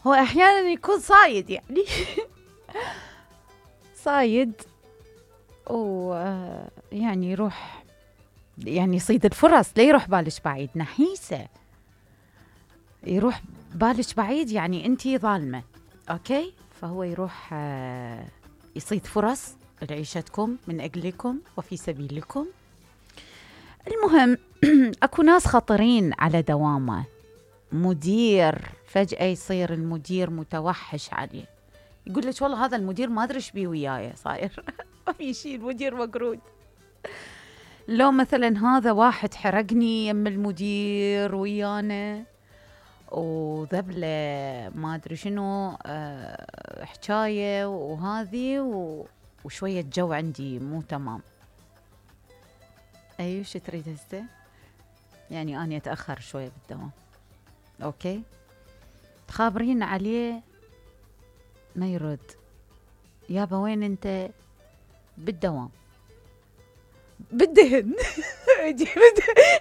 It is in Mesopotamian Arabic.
هو احيانا يكون صايد يعني صايد ويعني يروح يعني يصيد الفرص. لا يروح بالش بعيد، نحيسة يروح بالش بعيد يعني انتي ظالمة. اوكي، فهو يروح يصيد فرص لعيشتكم من اجلكم وفي سبيلكم. المهم اكو ناس خطرين على دوامه. مدير فجأة يصير المدير متوحش عليه، يقول لك والله هذا المدير ما ادري ايش بيه وياي صاير ما في شيء، المدير مقرود. لو مثلا هذا واحد حرقني يم المدير ويانا وذبله ما ادري شنو حكايه وهذه وشويه جو عندي مو تمام. ايوه شو تريد هسه؟ يعني اني اتاخر شويه بالدوام. اوكي، تخابرين عليه ما يرد. يابا وين انت؟ بالدوام. بالدهن اجي بالدهن